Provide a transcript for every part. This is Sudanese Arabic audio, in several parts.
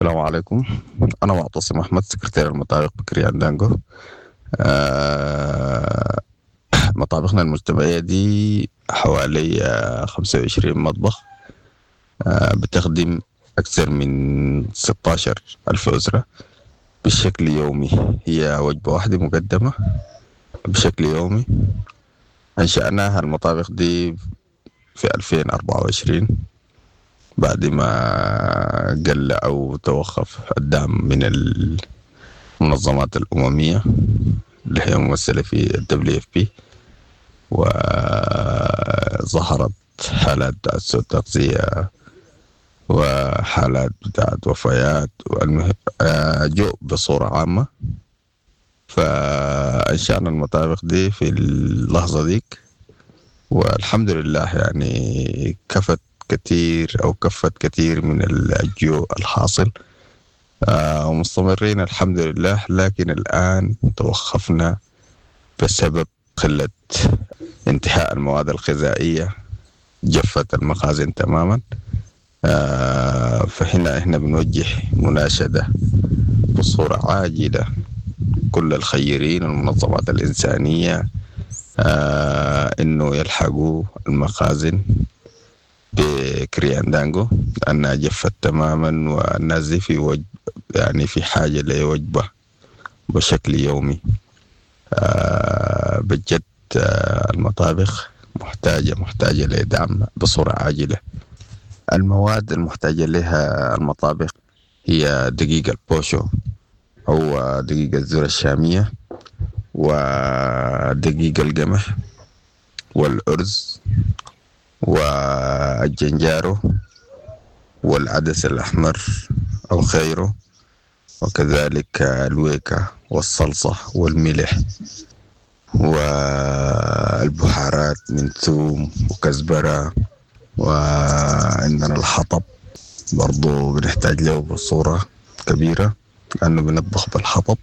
السلام عليكم، أنا معتصم أحمد، سكرتير المطابخ بكريان دانجو. مطابخنا المجتمعية دي حوالي 25 مطبخ، بتخدم أكثر من 16,000 أسرة بشكل يومي. هي وجبة واحدة مقدمة بشكل يومي. أنشأناها المطابخ دي في 2024 بعد ما قل أو توقف الدعم من المنظمات الأممية اللي هي ممثلة في ال WFP، وظهرت حالات بتاعت سوء تغذية وحالات بتاعت وفيات جوع بصورة عامة. فأنشأنا المطابخ دي في اللحظة ديك، والحمد لله كفت كثير أو كفت كثير من الجوع الحاصل، ومستمرين الحمد لله. لكن الآن توقفنا بسبب قلة انتهاء المواد الغذائية، جفت المخازن تماما. فهنا احنا بنوجه مناشدة بصورة عاجلة كل الخيرين والمنظمات الإنسانية، إنه يلحقوا المخازن بكريان دانجو لأنها جفت تماما، والناس دي في حاجة لوجبة بشكل يومي. بجد، المطابخ محتاجة لدعم بصورة عاجلة. المواد المحتاجة لها المطابخ هي دقيق البوشو أو دقيق الذرة الشامية، ودقيق القمح، والأرز، والجنجارو، والعدس الأحمر أو غيره، وكذلك الويكة والصلصة والملح والبهارات من ثوم وكزبرة، وعندنا الحطب برضو بنحتاج له بصورة كبيرة لأنه بنطبخ بالحطب.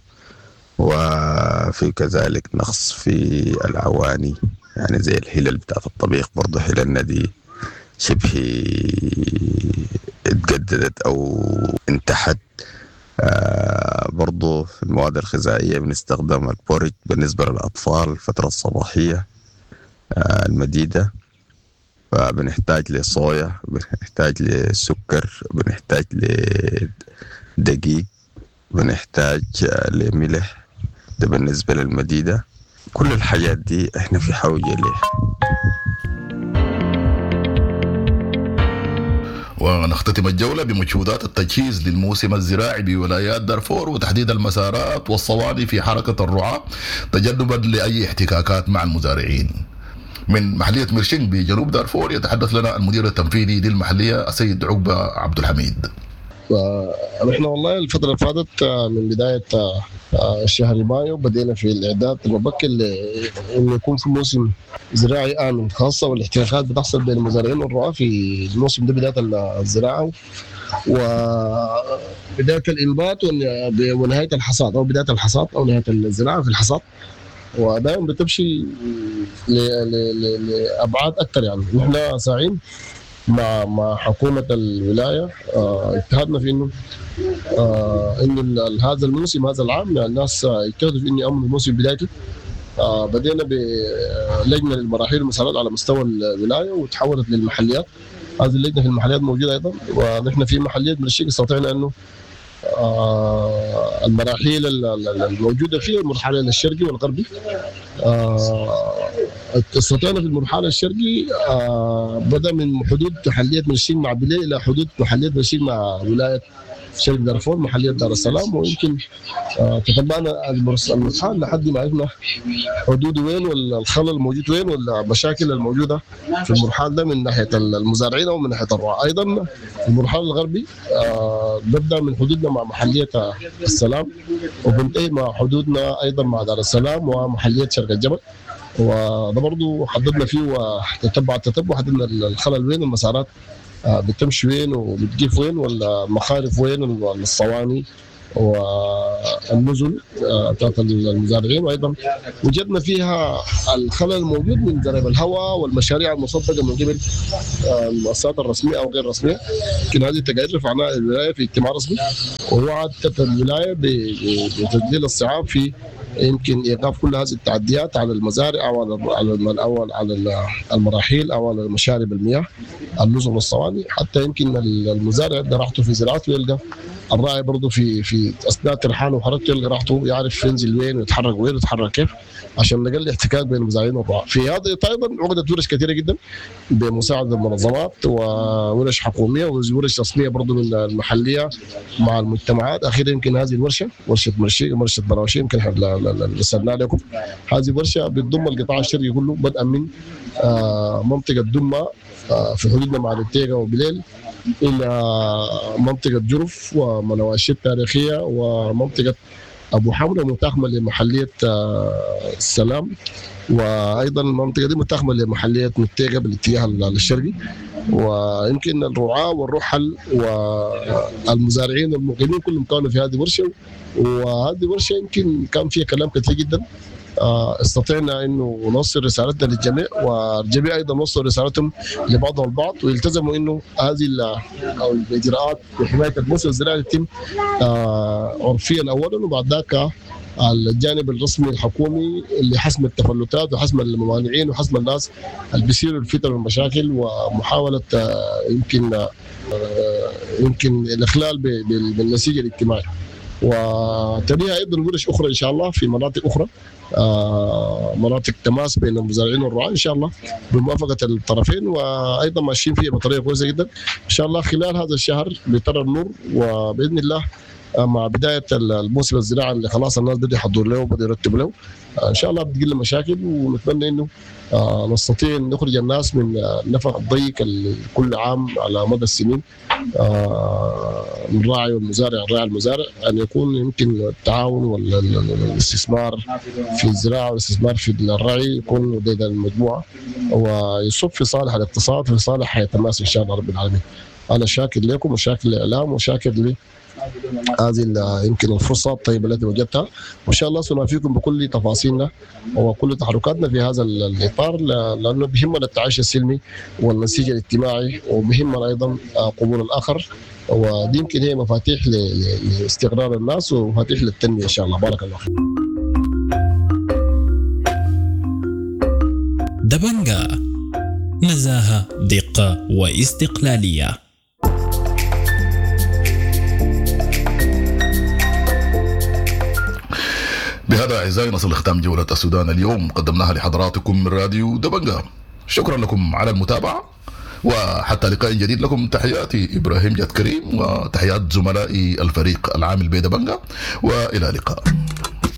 وفي كذلك نقص في العواني، زي الهلل بتاعت الطبيخ، برضو هللنا دي شبه اتجددت أو انتحت. برضو في المواد الغذائية بنستخدم البورج بالنسبة للأطفال الفترة الصباحية المديدة. فبنحتاج لصويا، بنحتاج لسكر، بنحتاج لدقيق، بنحتاج لملح، ده بالنسبة للمديدة. كل الحاجات دي احنا في حوجة ليها. ونختتم الجولة بمجهودات التجهيز للموسم الزراعي بولايات دارفور وتحديد المسارات والصواني في حركة الرعاة تجنبا لأي احتكاكات مع المزارعين. من محلية مرشين بجنوب دارفور يتحدث لنا المدير التنفيذي للمحلية السيد عقبة عبد الحميد. نحن والله الفترة اللي فاتت من بداية شهر مايو بدينا في الإعداد المبكر لأنه يكون في موسم زراعي آمن، خاصة والاحتكاكات بتحصل بين المزارعين والرعاة في الموسم ده، بداية الزراعة وبداية الإنبات ونهاية الحصاد، أو بداية الحصاد أو نهاية الزراعة في الحصاد، ودائما بتمشي لأبعاد أكثر. نحن ساعين مع حكومة الولاية، اجتهدنا في إنه هذا الموسم، هذا العام، الناس اجتهدوا في إنه يأمنوا الموسم بدايته. بدينا بلجنة للمراحيل والمسارات على مستوى الولاية وتحولت للمحليات. هذه اللجنة في المحليات موجودة أيضا، ونحن في محلية مرشيق استطعنا إنه المراحيل الموجودة فيها المرحلة الشرقي والغربي. استطعنا في المرحلة الشرقي، بدأ من حدود محلية مرشيق مع بلي إلى حدود محلية مرشيق مع ولاية شرق دارفور، محلية دار السلام، ويمكن تتبعنا المرحلة لحد ما عرفنا حدود وين والخلل الموجود وين والمشاكل الموجودة في المرحلة ده من ناحية المزارعين أو من ناحية الرعاة. أيضا المرحلة الغربي، ببدأ من حدودنا مع محلية السلام وبنتهي مع حدودنا أيضا مع دار السلام ومحلية شرق الجبل، وده برضو حددنا فيه وتتبع التتبع، حددنا الخلل وين، المسارات بتمشي وين وبتقف وين، والمخارف وين، والصواني والنزل بتاعت المزارعين، وايضا وجدنا فيها الخلل الموجود من ضرب الهواء والمشاريع المصدقه من قبل المؤسسات الرسمية او غير الرسمية. يمكن هذه التقارير رفعناها للولاية في اجتماع رسمي، ووعدت الولاية بتذليل الصعاب في يمكن ايقاف كل هذه التعديات على المزارع او على او على المراحيل او على مشارب المياه، النزل والصواني، حتى يمكن المزارع يلقى راحته في زراعته، يلقى الراعي برضه في اثناء ترحاله وحركته يلقى راحته، يعرف ينزل وين ويتحرك وين ويتحرك كيف، عشان نقلل احتكاك بين المزارعين والرعاة. في هذا ايضا عقدت ورش كثيرة جدا بمساعدة المنظمات وورش حكومية وورش رسمية برضه من المحلية مع المجتمعات. اخيرا يمكن هذه الورشة، ورشه مرشي، ورشه براوشي، يمكن احنا رسلنا لكم هذه الورشة بتضم القطاع الشرقي كله، بدءا من منطقة دمى في حدودنا مع التيغا وبليل الى منطقة جرف ومنواشي التاريخية ومنطقة ابو حمرة متاخمه لمحليه السلام، وايضا المنطقة دي متاخمه لمحليه متيغه بالاتجاه الشرقي. ويمكن الرعاة والرحل والمزارعين والمقيمين كلهم كانوا في هذه الورشة، وهذه الورشة يمكن كان فيها كلام كثير جدا. استطعنا انه نوصل رسالتنا للجميع، والجميع ايضا وصلوا رسالتهم لبعضهم البعض، ويلتزموا انه هذه الاجراءات لحماية الموسم الزراعي تتم عرفيا اولا، وبعد ذاك الجانب الرسمي الحكومي اللي حسم التفلتات وحسم الممانعين وحسم الناس اللي بيصيروا الفتن والمشاكل ومحاولة يمكن الاخلال بالنسيج الاجتماعي. وتليها ايضا ورش اخرى ان شاء الله في مناطق اخرى، مناطق تماس بين المزارعين والرعاة ان شاء الله بموافقة الطرفين، وايضا ماشيين فيها بطريقة كويسة جدا ان شاء الله. خلال هذا الشهر بترى النور، وباذن الله مع بداية الموسم الزراعي اللي خلاص الناس بدأوا يحضروا له وبدأوا يرتبوا له ان شاء الله بتقل المشاكل، ونتمنى انه نستطيع ان نخرج الناس من النفق الضيق كل عام على مدى السنين، الراعي والمزارع، الراعي المزارع، ان يكون يمكن التعاون والاستثمار في الزراعة والاستثمار في الرعي يكون لدى المجموعة ويصب في صالح الاقتصاد، في صالح حياة الناس ان شاء الله رب العالمين. انا شاكر لكم وشاكر للاعلام وشاكر ل هذه يمكن الفرصة الطيبة التي وجدتها، وإن شاء الله سنوافيكم بكل تفاصيلنا وكل تحركاتنا في هذا الإطار، لأنه بهمنا التعايش السلمي والنسيج الاجتماعي، وبهمنا أيضا قبول الآخر، ودي يمكن هي مفاتيح لاستقرار الناس ومفاتيح للتنمية إن شاء الله. بارك الله فيك. دبنجا، نزاهة، دقة واستقلالية. بهذا أعزائي نصل لختام جولة السودان اليوم، قدمناها لحضراتكم من راديو دبنجا. شكرا لكم على المتابعة، وحتى لقاء جديد لكم تحياتي إبراهيم جاد كريم وتحيات زملائي الفريق العامل بدبنجا، وإلى اللقاء.